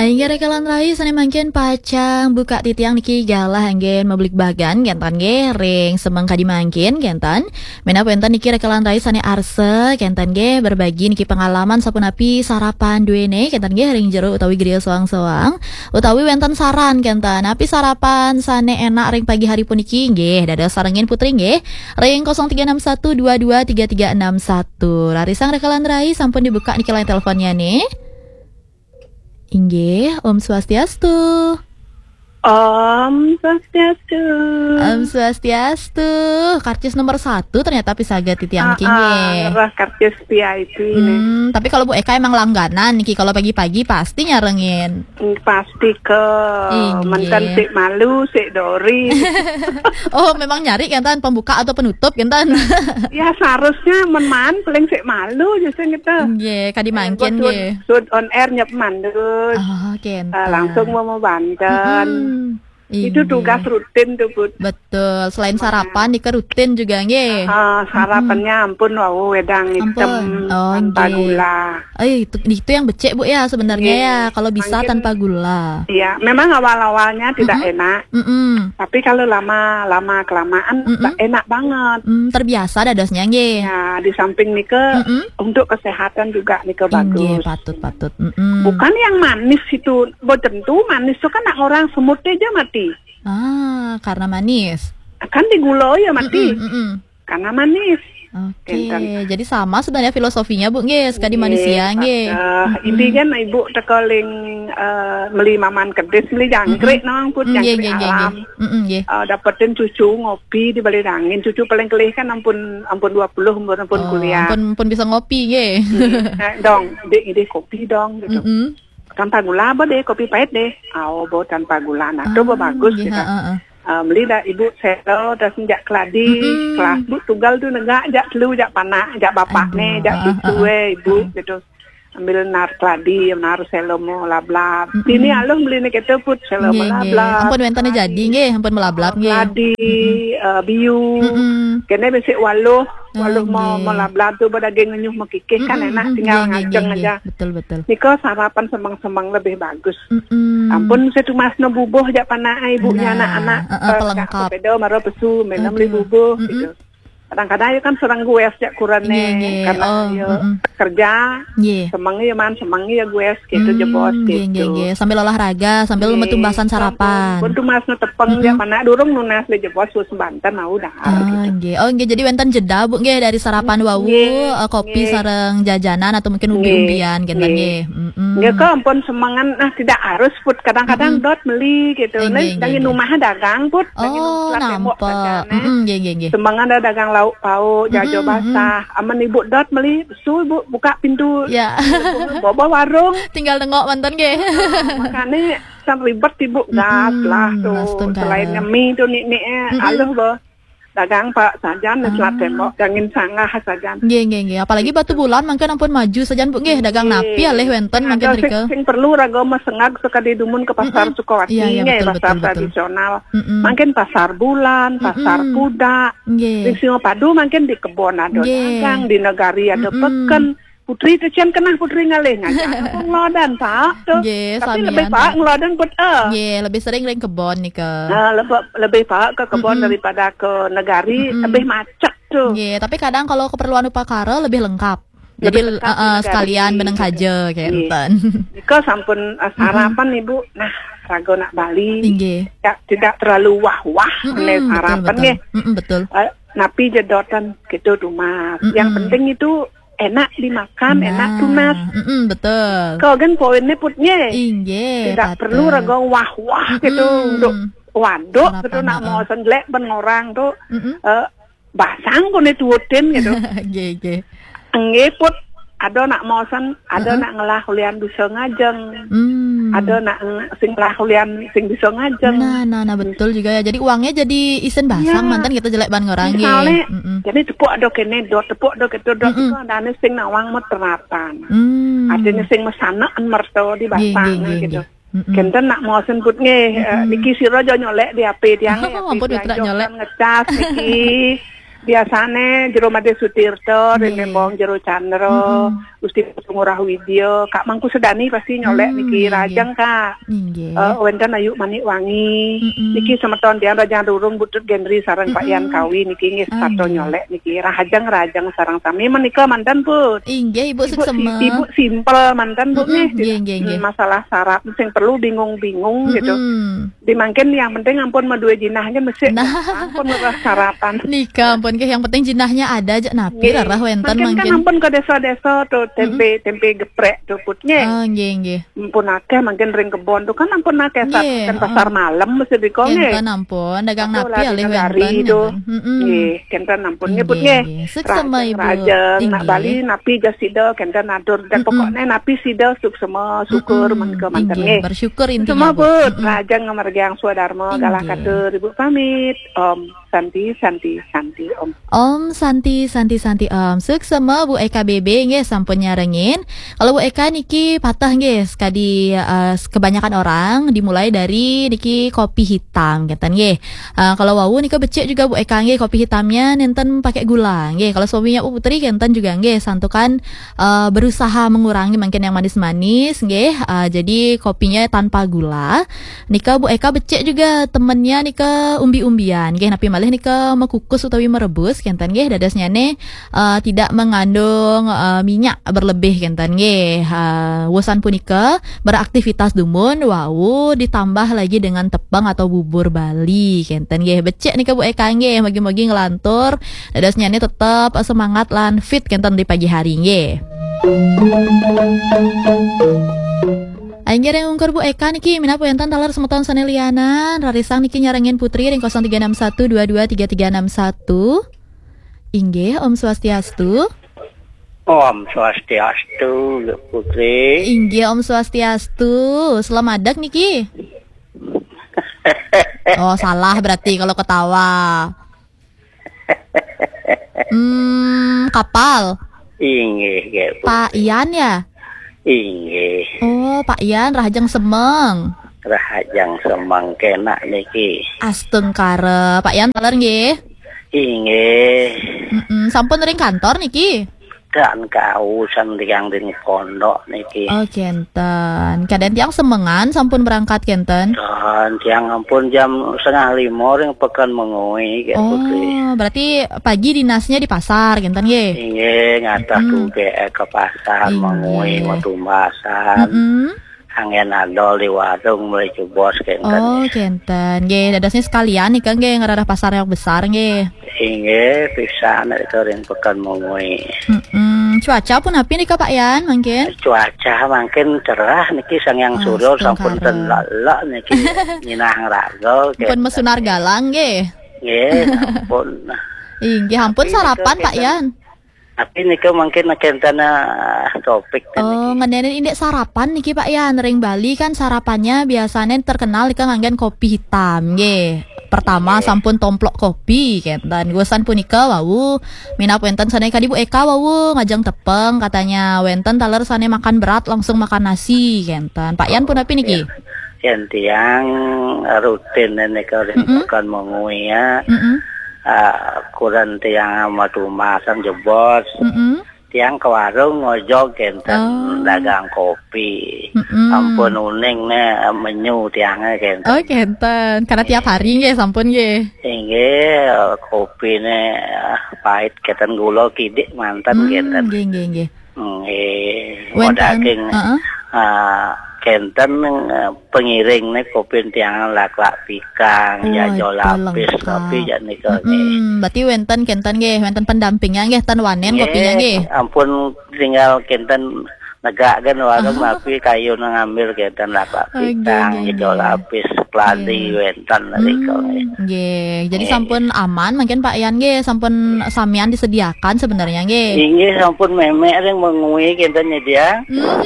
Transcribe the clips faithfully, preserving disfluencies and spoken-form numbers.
Inggih raka lan rai, sané mangkin pacang buka titiang niki galah anggén mabligbagan kénten nggih ring semeng kadi mangkin kénten. Minab wénten niki raka lan rai sané arsa kénten nggih berbagi niki pengalaman sapunapi sarapan duéné kénten nggih ring jero utawi griya soang-soang, utawi wénten saran kénten. Napi sarapan sané énak ring pagi hari puniki nggih dados sarengin Putri nggih ring kosong tiga enam satu dua dua tiga tiga enam satu. Rarisang raka lan rai, sampun dibuka niki line teleponnya nih. Inggih, Om Swastiastu. Om Swastiastu. Om Swastiastu. Karcis nomor satu ternyata pisaga titiang niki nggih. Wah, karcis V I P nih. Hmm, tapi kalau Bu Eka emang langganan niki, kalau pagi-pagi pasti nyarengin. Hmm, pasti ke. Inggih. Mantan sik malu, sik dori. Oh, memang nyari kénten pembuka atau penutup kénten. Ya, seharusnya men maan paling sik malu justru gitu. Nggih, kadi mangkin nggih. Sud on air nyep mandus. Oh, kénten. Eh, langsung mau banten. Mm-mm. Itu tugas rutin tuh, Bud. Betul. Selain sarapan, nika rutin juga nggih. Ah, sarapannya ampun wau wedang hitam. Ampun. Oh, tanpa nggih. Gula. Eh, itu, itu yang becek, Bu, ya, sebenarnya ya. Nggih. Kalau bisa mangkin tanpa gula. Iya, memang awal-awalnya tidak enak. Mm-mm. Tapi kalau lama-lama kelamaan, mm-mm, enak banget. Hmm, terbiasa dadosnya nggih. Ya, di samping nika, mm-mm, untuk kesehatan juga nika bagus. Inggih, patut, patut. Mm-mm. Bukan yang manis itu, boten tuh manis tuh kan nak orang semut aja mati. Ah, karena manis. Kan di gula ya mati. Mm-mm, mm-mm. Karena manis. Oke, kénten. Jadi sama sebenarnya filosofinya, Bu, nggih, sekadi manusia nggih. Nggih, patut. Mm-mm. Inti kan Ibu teka ling, eh, meli maman kedis, meli jangkrik nang pun jangkrik alam. Mm-mm, nggih. Eh, dapetin cucu ngopi di balik angin. Cucu paling kelih kan ampun, ampun dua puluh, ampun, ampun kuliah. Oh, ampun, ampun bisa ngopi nggih. Nggih. Eh, dong, dek ide kopi dong gitu. Mm-mm. Tanpa gula apa deh, kopi pahit deh. Oh, bo tanpa gula. Nah, tu bo bagus nggih, gitu. Heeh, heeh. Ah, meli dah ibu selo dah sejak keladi, mm-mm, kelas bu tunggal tu negak jak telu jak panak, jak bapak ni, jak pitu eh ibu gitu. Ambil nar keladi, nar selo mo lablab. Mm-mm. Ini aluh meli ni kita put selo mo lablab. Nggih, nggih. Ampun wénten jadi nggih, ampun melablab nggih. Keladi, eh, biu. Mm-mm. Kene besik waluh, waluh mo, mo lablab tu badaging ngenyuh mo kikih kan enak, tinggal ngajeng aja. Nggih, nggih, nggih. Betul, betul. Nika sarapan semeng-semeng lebih bagus. Mm-mm. Ampun, setumasno bubuh jak panak ibunya anak-anak, heeh, eh, pelengkap. Sepeda mara pesu, mena meli bubuh gitu. Mm-mm. Kadang-kadang ya kan serang gues jak kurane, nggih, nggih, karena oh, ya kerja, nggih, semeng ya man, semeng ya gues gitu, jebos gitu. Nggih, nggih. Sambil olahraga, sambil metumbasan sarapan. Pun tumasno tepeng jak panak durung nunas le jebos wis banten mau dah. Ah, gitu. Nggih. Oh, nggih, jadi wénten jeda, Bu, nggih, dari sarapan wau, eh, kopi sareng jajanan atau mungkin umbi-umbian, gitu, nggih. Mm-mm. Nggih, kok ampun semengan, nah, tidak harus, Put. Kadang-kadang dot meli, gitu. Nggih, nggih, nggih. Dangin rumah dagang, Put. Dangin rumah tembok dagang, eh. Mm-mm, nggih, nggih, nggih. Semengan ada dagang lauk pauk, jajo basah. Aman ibu dot meli, su, ibu buka pintu. Ya. Bobo warung. Tinggal nengok mantan, nggih. Makanya kan ribet ibu, gas lah tu. Selain nyemi tu, nik-nik, eh, aluh, boh. Dagang pak sajan, selat tembok, dangin sanggah sajan. Nggih, nggih, nggih. Apalagi Batubulan mangkin ampun maju sajan, Bu, nggih. Dagang napi alih wénten mangkin rika. Sing perlu raga mesengag sekadi dumun ke pasar Sukawati, nggih, pasar tradisional. Mm-mm. Mangkin pasar bulan, pasar kuda. Nggih. Ring Singapadu mangkin di kebon ada dagang, di negari ada peken. Putri tu cian kenah putri ngalih ngajak aku ngelodan, Pak, tu. Nggih, tapi lebih samian, Pak, Pak, ngelodan put, eh. Nggih, lebih sering ring kebon nika. Nah, lebih, lebih Pak ke kebon daripada ke negari, lebih macet tu. Nggih, tapi kadang kalau keperluan upakara lebih lengkap. Jadi, lebih lengkap di negari, sekalian beneng gitu. Kaja, nggih, kénten. Nika sampun, eh, sarapan, Ibu. Nah, raga nak bali. Nggih. Tidak, tidak terlalu wah-wah, betul, sarapan betul. Nggih. Mm-mm, betul. Eh, napi jedotan gitu tuh, Mas. Yang penting itu enak dimakan, enak tunas. Mm-mm, betul. Kau kan poinnya putnya. Inggih, tidak perlu raga wah-wah gitu untuk waduk gitu, nak mau senglek ben ngorang tu, eh, basang kone tuutin gitu. Nggih, nggih. Nggih, Put, ada nak mosen, ada nak ngelah ulian bisa ngajeng. Hmm. Ada nak ng-, sing ngelah ulian sing bisa ngajeng. Nah, nah, nah, betul juga ya. Jadi uangnya jadi isin basang mantan kita jelek ban ngorang, nggih. Misalnya, jadi tepuk ada kene dot, tepuk ada ketu dot, itu ada ane sing nawang meteratan. Hmm. Artinya sing mesanaan merto di basang gitu. Nggih, nggih, nggih. Kenten nak mosen put nggih, eh, niki sira aja nyolek di H P tiang, oh, H P ampun, tiang mitra nyolek. Kan ngecas niki. Biasane Jero Made Sutirta, Nggih. Ring Lembong Jero Chandra, Mm-mm. Gusti Putu Ngurah Widya, Kak Mangku Sedani pasti nyolek Mm, niki, nggih, nggih. Rahajeng, Kak. Nggih. Eh, wenten Ayu Manik Wangi. Mm-mm. Niki semeton tiang Rahajeng Rurung, Butut Gendri sareng Pak Yan Mm-mm. Kawi niki nggih Ah, setata nggih. nyolek niki. Rahajeng, rahajeng sareng sami menika manten, Put. Inggih, Ibu Ibu suksema. Si-, Ibu simpel manten, Bu, Mm-mm, nggih. Nggih, nggih, nggih. Hmm, masalah syarat sing perlu bingung-bingung gitu. Mm-mm. Di mangkin yang penting ampun madue jinah nggih mesik. Nah. Ampun leres sarapan. Nika ampun nggih, yang penting jinahnya ada aja napi Nggih. Rarah wenten Mangkin kan mangkin. Ampun ke desa-desa tuh, tempe, Mm-mm. tempe geprek tuh, Put, nggih. Ah, nggih, nggih. Ampun akeh mangkin ring kebon tuh kan ampun akeh sat-, Nggih, kan heeh. Pasar malam mesti diko, nggih. Kenten ampun, dagang Aduh, napi lah, alih negari wenten, tuh. Nggih, kenten ampun, nggih, Put, nggih, nggih. Nggih. Suksema, Ibu. Rahajeng, nak Inggih. Bali napi jas sida kenten atur. Dan Mm-mm. Pokoknya napi sida suksema, syukur, Mm-mm. Menika manten, Inggih, nggih. Bersyukur intinya, Semua, Bu. Put, Mm-mm. rahajeng ngamargiang swadharma, galah Inggih. Katur, Ibu pamit. Om Santi, Santi, Santi, Om. Om Santi, Santi, Santi, Om. Suksema Bu Eka B B nggih sampun nyarengin. Kalau Bu Eka niki patah nggih, sekadi, eh, kebanyakan orang dimulai dari niki kopi hitam, kenten nggih. Eh, kalau wau nika becik juga Bu Eka nggih, kopi hitamnya nenten pakai gula nggih. Kalau suaminya Bu Putri kenten juga nggih, santukan, eh, berusaha mengurangi mungkin yang manis-manis nggih. Eh, jadi kopinya tanpa gula. Nika Bu Eka becik juga temennya nika umbi-umbian nggih, napi malih nika mekukus utawi merebus kenten nggih, dadosnyane, eh, tidak mengandung, eh, minyak berlebih kenten nggih. Eh, wusan punika beraktivitas dumun wau ditambah lagi dengan tepung atau bubur Bali kenten nggih. Becik nika Bu Eka nggih, mugi-mugi nglantur dadosnyane tetep semangat lan fit kenten di pagi hari nggih. Inggih ring ungkur Bu Eka niki, minab wenten taler semeton sane lianan, rarisang niki nyarengin Putri ring kosong tiga enam satu dua dua tiga tiga enam satu. Inggih, Om Swastiastu. Om Swastiastu, Putri. Inggih, Om Swastiastu. Selamadeg niki. Oh, salah berarti kalau ketawa. Hmm, kapal. Inggih, nggih, Putri. Pak Ian ya? Inggih. Oh, Pak Ian, rahajeng semeng. Rahajeng semeng kenak niki. Astungkara. Pak Ian taler nggih? Inggih. Mm-mm. Sampun ring kantor niki? Dan kausan tiang ring pondok niki. Oh, kenten. Kadang tiang semengan sampun berangkat kenten? Dan tiang ampun jam setengah lima ring Pekan Mengwi, nggih, Putri. Oh, berarti pagi dinasnya di pasar kenten nggih? Inggih, ngatah Mm-mm. tuge ke pasar Inggih. Mengwi, Matumbasan. Mm-mm. Anggen adol di warung beli jebos kenten. Oh, nggih. Kenten. Nggih, dadosnya sekalian nika nggih ngerarah pasar yang besar nggih. Inggih, pisan nika ring Pekan Mengwi. Mm-mm. Cuaca pun api nika Pak Yan mungkin? Cuaca mungkin cerah niki, Sang Hyang Surya sampun ten lelak niki. Nyinah ngraga. Pun kenten. Mesunar galang nggih. Nggih, ampun. Inggih, ampun. Tapi sarapan nika Pak kenten. Yan. Tapi nika mungkin kenten, ah, topik Oh, niki. Ngeninin indik sarapan niki Pak Yan. Ring Bali kan sarapannya biasanya terkenal nika nganggen kopi hitam nggih. Pertama nggih. Sampun tomplok kopi kenten. Wusan punika wau minab wenten sane kadi Bu Eka wau ngajeng tepeng katanya. Wenten taler sane makan berat langsung makan nasi kenten. Pak Yan pun api niki? Yen tiang rutin nika ring Mm-mm. Pekan Mengwi ya. Mm-mm. Ah, kuran tiang Matumbasan jebos. Mm-mm. Tiang ke warung ngojog kenten. Oh. Dagang kopi. Mm-mm. Ampun uning ne menyu tiange kenten. Oh, kenten. Karena tiap hari nggih sampun nggih. Inggih, kopine, ah, pait kenten gula kidik manten. Hmm, kenten. Nggih, nggih, nggih. Nggih, wenten, daging, heeh. Ah, kenten, eh, pengiring ne kopi tiang laklak pikang, oh, ya, jol lapis, lengkap. Kopi ya nika nggih. Mm-mm, berarti wenten kenten nggih, wenten pendampingnya nggih, ten wanen nggih, kopinya nggih. Ampun tinggal kenten negakkan warung, oh. Tapi kayu ngambil kenten laklak pikang, oh, nggih, nggih, jol lapis, keladi, nggih. Wenten nika nggih. Hmm, nggih. Jadi nggih. Sampun aman mungkin Pak Yan nggih, sampun samian disediakan sebenarnya nggih. Inggih, sampun memek ring Mengwi kenten nyedia. Hmm.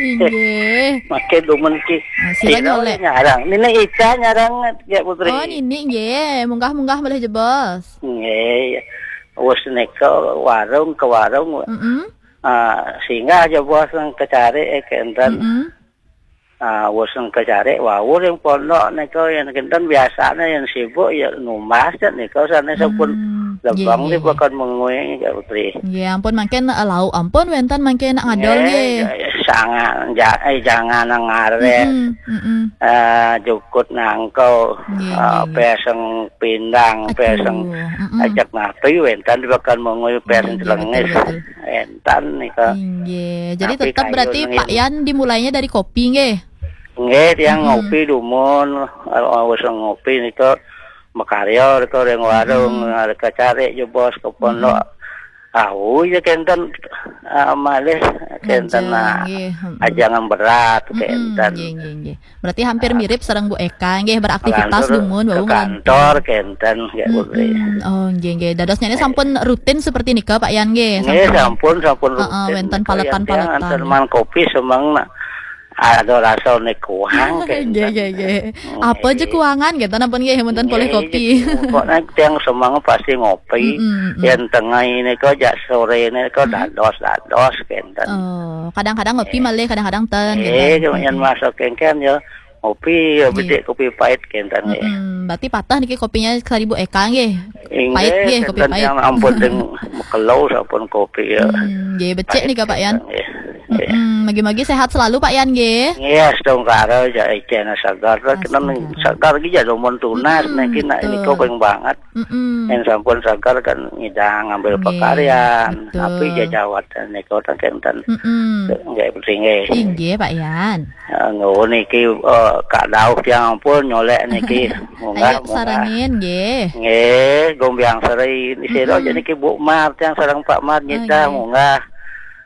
Inggih. Makin dumen ki. Ah, sira nyolek. Nyarang. Nini Ica nyarang ya Putri. Oh, nini nggih. Munggah-munggah malih jebos. Nggih. Wes nika warung ke warung. Mm-mm. Ah, singgah jebos nang kecari, eh, kenten. Mm-mm. Ah, wes nang kecari wau ring pondok nika yen kenten biasane yen sibuk ya numbas nika sane sampun. Hmm. Lebeng di Pekan Mengwi, Kak Putri. Nggih, ampun mangkin, eh, lauk ampun wénten mangkin ngadol nggih. Nggih, ya, ya, sangan, ja-, eh, jangan ngarep. Mm-mm, mm-mm. Eh, jukut nangko, nggih, eh, nggih, nggih. Peseng pindang, aduh, peseng mm-mm. Ajak napi wénten di Pekan Mengwi, peseng nggih, nggih, celengis. Betul, betul. Wénten nika. Nggih. Jadi tapi tetap kayu berarti nengin. Pak Yan dimulainya dari kopi nggih? Nggih, tiang mm-mm. Ngopi dumun, eh, wis ngopi nika makarya reka ring warung, mm-mm. Reka cari jebos ke pondok. Mm-mm. Au ya kenten, ah, malih kenten, ngajeng, ah, nggih, mm-mm. Ajangan berat mm-mm. Kenten. Nggih, nggih, nggih. Berarti hampir ah. Mirip sareng Bu Eka nggih, beraktivitas dumun wau ke kantor kenten nggih. Mm-mm. Oh, nggih, nggih. Dadosnya ini sampun rutin seperti nika Pak Yan nggih. Nggih, sampun, sampun rutin. Heeh, wénten paletan-paletan. Wénten kopi semeng nak. Ada rasa nih kuang. Nggih, nggih, nggih. Apa aja kuangan gitu, napa nggih, wonten polih kopi. Pokoknya tiang semang pasti ngopi. Mm-mm, mm-mm. Yang tengah ini kok jak sore ini kok dados-dados kenten. Oh, kadang-kadang ngopi malih, kadang-kadang ten gitu. Nggih, kemudian masuk kengken ya. Ngopi ya, bedik kopi pahit kenten nggih. Mm-mm. Berarti patah niki kopinya saribu Eka nggih. Pahit nggih, kopi pahit. Yang ampun deng mekelo sampun kopi ya. Hmm, nggih, becik nih Pak Yan. Nggih. Mm-mm, mugi-mugi sehat selalu Pak Yan nggih. Nggih, astungkara ja ijena sagar. Kena segar iki ya dumun tunas niki nak niku ping banget. Mm-mm. Yang sampun sagar kan ngidang ngambil nggih, pakaryan. Betul. Tapi jajawatan niku tak kenten. Mm-mm. Nggih, penting nggih. Inggih Pak Yan. Eh, nuwun niki, eh, Kak Dauh tiang ampun nyolek niki. Munggah, ayo munggah. Sarengin nggih. Nggih, Gombiang Seri. Ini sira aja niki Bu Mar tiang sareng Pak Mar nyedah nggih. Munggah.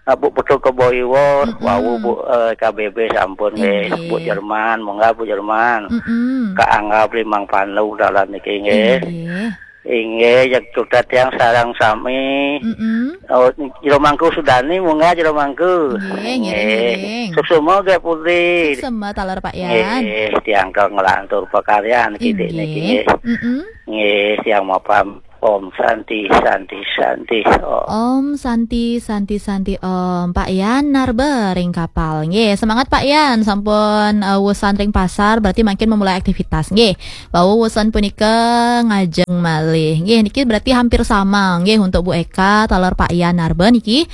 Eh, Bu Betul Keboiwo, wau Bu, eh, K B B sampun nggih. Inggih. Bu Jerman, munggah Bu Jerman. Mm-mm. Kak Angga Blimang Pandu dalan niki nggih. Inggih. Inggih, jak tutet tiang sareng sami. Mm-mm. Oh, Jero Mangku Sudani, munggah Jero Mangku. Nggih, ngiring, ngiring. Suksema nggih Putri. Suksema taler Pak Yan. Nggih, tiang ke ngelantur pakaryan kidik niki nggih. Mm-mm. Nggih, tiang mapan Om Santi, Santi, Santi. Oh. Om Santi, Santi, Santi, Om. Pak Yan narba ring kapal. Nggih, semangat Pak Yan. Sampun, eh, wusan ring pasar, berarti mangkin memulai aktivitas. Nggih. Wau wusan punika ngajeng malih. Nggih, niki berarti hampir sama nggih untuk Bu Eka taler Pak Yan narba niki.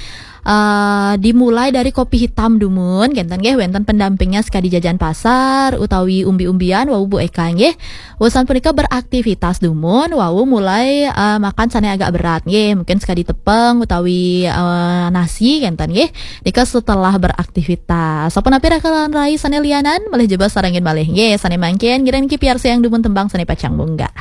Eh, dimulai dari kopi hitam dumun, kenten nggih, wénten pendampingnya sekadi jajan pasar utawi umbi-umbian wau Bu Eka nggih. Wusan punika beraktivitas dumun, wau mulai, eh, makan sané agak berat nggih, mungkin sekadi tepung utawi, eh, nasi kenten nggih. Nika setelah beraktivitas. Sapunapi raka lan rai sané lianan, malih jebos sarengin malih nggih, sané mangkin ngiring niki piarsayang dumun tembang sané pacang munggah.